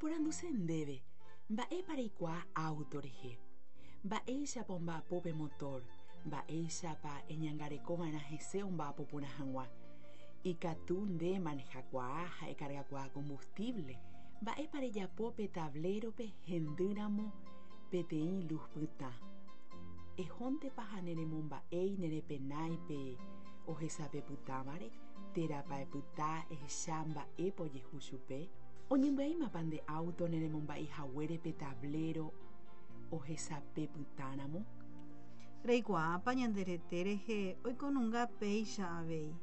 Aporanduse ndéve, mba'épa reikuaa auto rehe? Mba'éichapa omba'apo pe motor? Mba'éichapa eñangarekova'erã hese omba'apo porã hag̃ua? Ikatu nde emanehakuaa ha ekargakuaa combustible. Mba'épa rejapo pe tablero-pe hendýramo peteĩ luz pytã? Ehóntepa ha neremomba'éi nerepenái pe ohesape pytãvare térãpa epyta ehecha mba'épa ojehu chupe? Oñembyaímapa nde auto neremomba'eihaguére pe tablero ohesape pytãramo? Reikuaápa ñande rete rehe oikonunga péicha avei,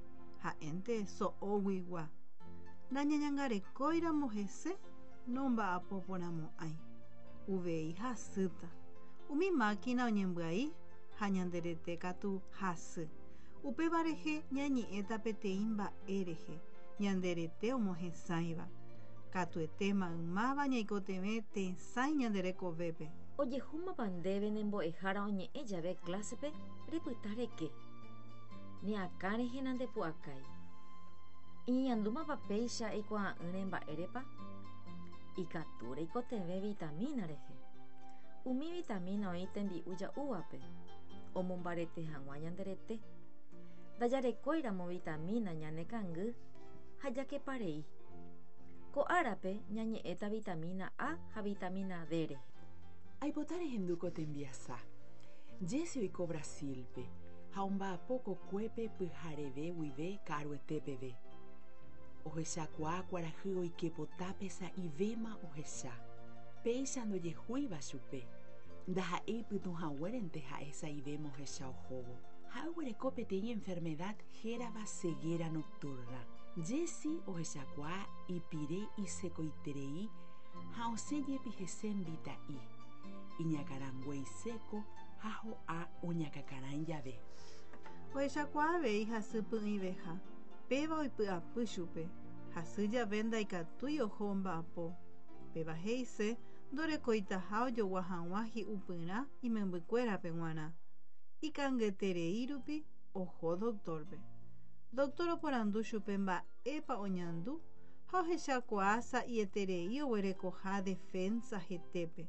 ha'énte so'oguigua. Nañañangarekóiramo hese nomba'apoporãmo'ãi, uvei hasýta. Umi máquina oñembyai ha ñande rete katu hasy. Upéva rehe ñañe'ẽta peteĩ mba'e rehe, ñande rete omohesãiva. Katuete maymáva ñaikotevẽ tesãi ñande rekovépe. Ojehúmapa ndéve ne mbo'ehára oñe'ẽ jave clásepe repyta reke. Ne akã rehe nandepu'akái. Eñeñandúmapa péicha eikuaa'ỹre mba'érepa? Ikatu reikotevẽ vitamína rehe. Umi vitamína oĩ tembi'u ja'úvape, omombarete hag̃ua ñande rete. Ndajarekóiramo vitamína ñane kangy ha jakeparei. Ko árape ñañe'ẽta vitamína A ha vitamína D rehe. Aipota rehendu ko tembiasa. Jesse oiko Brasil-pe ha omba'apo kokuépe pyhareve guive ka'aruete peve. Ohechakuaa kuarahy oike potápe sa'ivéma ohecha. Péicha ndojehúiva chupe. Ndaha'éi pytũhaguérente ha'e sa'ivéma ohecha ohóvo. Ha'e oguereko peteĩ enfermedad hérava ceguera nocturna. Jesse ohechakuaa ipire isekoiterei ha osẽ jepi hese mbita'i. Iñakãrangue iséko ha ho'a oñakãkarãi jave. Ohechakuaa avei hasy py'ỹiveha, péva oipy'apy chupe. Hasy jave ndaikatúi oho omba'apo. Péva he'ise ndorekoitaha ojogua hag̃ua hi'upyrã imembykuérape g̃uarã. Ikangyeterei rupi oho doctor-pe. Doctor oporandu chupe mba'épa oñandu ha ohechakuaa sa'ieterei oguerekoha defensa hetépe.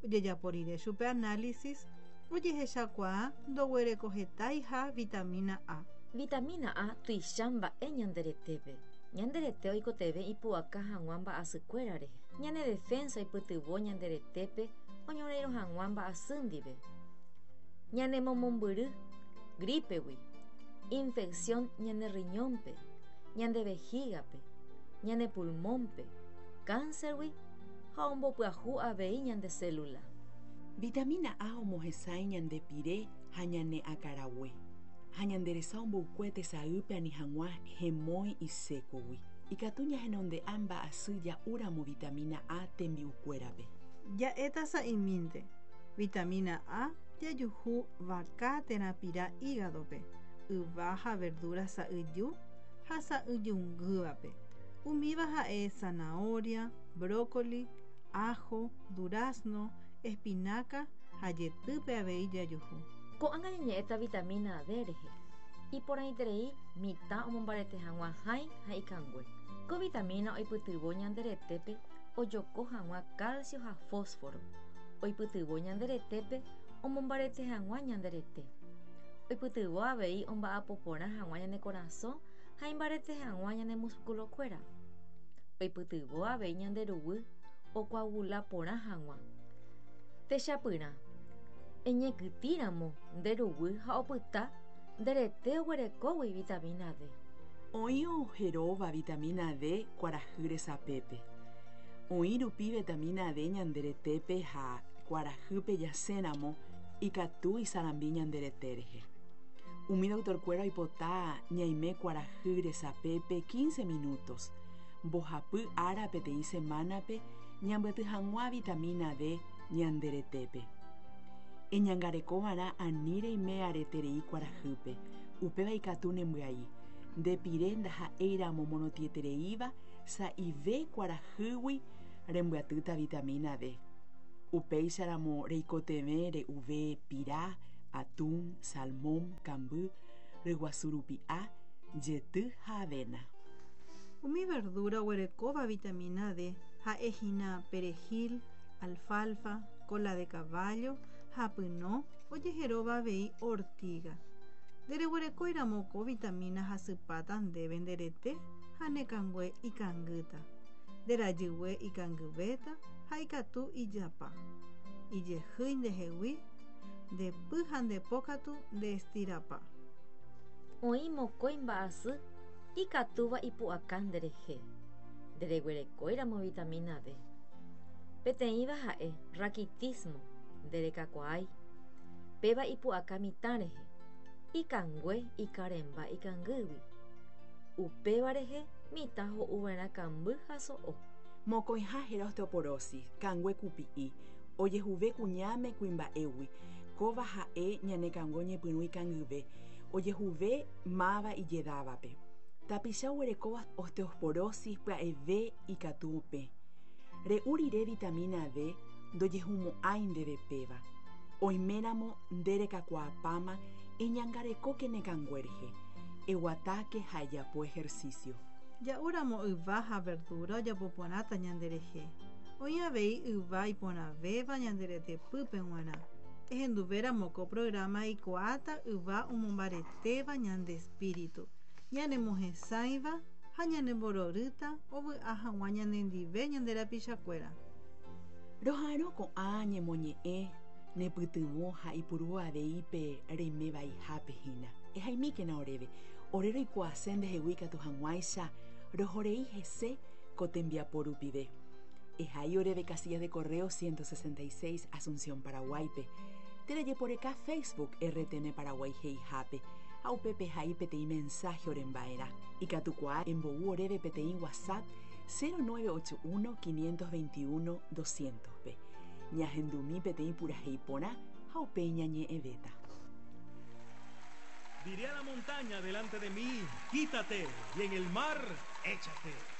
Ojejapo rire chupe análisis, ojehechakuaa ndoguerekohetáiha vitamína A. Vitamína A tuicha mba'e ñande retépe. Ñande rete oikotevẽ ipu'aka hag̃ua mba'asykuéra rehe. Ñane defensa oipytyvõ ñande retépe oñorairõ hag̃ua mba'asy ndive. Ñanemomombyry gripe-gui, infección ñane riñón-pe, ñande vejiga-pe, ñane pulmón-pe, cáncer-gui ha ombopyahu avei ñande célula. Vitamína A omohesãi ñande pire ha ñane akãrague, ha ñande resa omboykue tesaýpe ani hag̃ua hemói isékogui. Ikatu ñahenonde'a mba'asy ja'úramo vitamína A tembi'ukuérape. Ja'éta sa'imínte, vitamína A jajuhu vaka térã pira hígado-pe, yva ha verdura sa'yju ha sa'yjungývape. Umíva ha'e zanahoria, brócoli, ajo, durazno, espinaca ha jetýpe avei jajuhu. Ko'ág̃a ñañe'ẽta vitamína D rehe. Iporãiterei mitã omombarete hag̃ua hãi ha ikangue. Ko vitamína oipytyvõ ñande retépe ojoko hag̃ua calcio ha fósforo. Oipytyvõ ñande retépe omombarete hag̃ua ñande rete. Oipytyvõ avei omba'apo porã hag̃ua ñane korasõ ha imbarete hag̃ua ñane muskulokuéra. Oipytyvõ avei ñande ruguy okoagula porã hag̃ua. Techapyrã, eñekytĩramo nde ruguy ha opyta nde rete oguerekógui vitamína D. Oĩ oheróva vitamína D kuarahy resapépe. Oĩ rupi vitamína D ñande retépe ha kuarahýpe jasẽramo ikatu isarambi ñande rete rehe. Umi doctor-kuéra oipota ñaime kuarahy resapépe 15 minutos, mbohapy ára peteĩ semánape ñambyaty hag̃ua vitamína D ñande retépe. Eñangarekova'erã ani reime areterei kuarahýpe, upéva ikatu nembyai. Nde pire ndaha'éiramo morotĩetereíva sa'ive kuarahýgui rembyatýta vitamína D. Upéicharamo reikotevẽ re'uve pira, atún, salmón, kamby, ryguasu rupi'a, jety ha avena. Umi verdura oguerekóva vitamina D ha'ehína perejil, alfalfa, cola de caballo ha pyno ojeheróva avei ortiga. Ndereguerekóiramo ko vitamina hasypáta ndéve nde rete ha ne kangue ikangýta. Nde rajygue ikangyvéta ha ikatu ijapa. Ijehýi ndehegui, nde py ha nde po katu nde estirapa. Oĩ mokõi mba'asy ikatúva ipu'aka nderehe, ndereguerekóiramo vitamina D. Peteĩva ha'e raquitismo, nderekakuaái. Péva ipu'aka mitã rehe, ikangue ikarẽmba ikangýgui. Upéva rehe mitã ho'uva'erã kamby ha so'o. Mokõiha héra osteoporosis, kangue kupi'i, ojehuve kuñáme kuimba'égui, kóva ha'e ñane kangue oñepyrũ ikangyve, ojehuve máva ijedávape. Tapicha oguerekóva osteoporosis pya'eve ikatu opẽ. Re'u rire vitamina D ndojehumo'ãi ndéve péva. Oiméramo nde rekakuaapáma eñangarekóke ne kangue rehe. Eguatáke ha ejapo ejercicio. Ja'úramo yva ha verdura ojapo porãta ñanderehe. Oĩ avei yva iporãvéva ñande retepýpe g̃uarã. Ehenduvéramo ko programa eikuaáta yva omombaretéva ñande espíritu, ñanemohesãiva ha ñanembororýta ovy'a hag̃ua ñanendive ñande rapichakuéra. Roha'arõ ko'ã ñemoñe'ẽ nepytyvõ ha ipuru avei pe reime vaihápe hína. Ehaimíkena oréve, ore roikuaase ndehegui ikatu hag̃uáicha rohorei hese ko tembiapo rupive. Ehai oréve casilla de correo 166 Asunción Paraguáipe, térã jeporeka Facebook RTM Paraguay he'ihápe ha upépe ehai peteĩ mensaje oremba'erã. Ikatukuaa embou oréve peteĩ WhatsApp 0981 521 200-pe. Ñahendumi peteĩ purahéi porã ha upéi ñañe'ẽvéta. Diré a la montaña delante de mí, quítate, y en el mar, échate.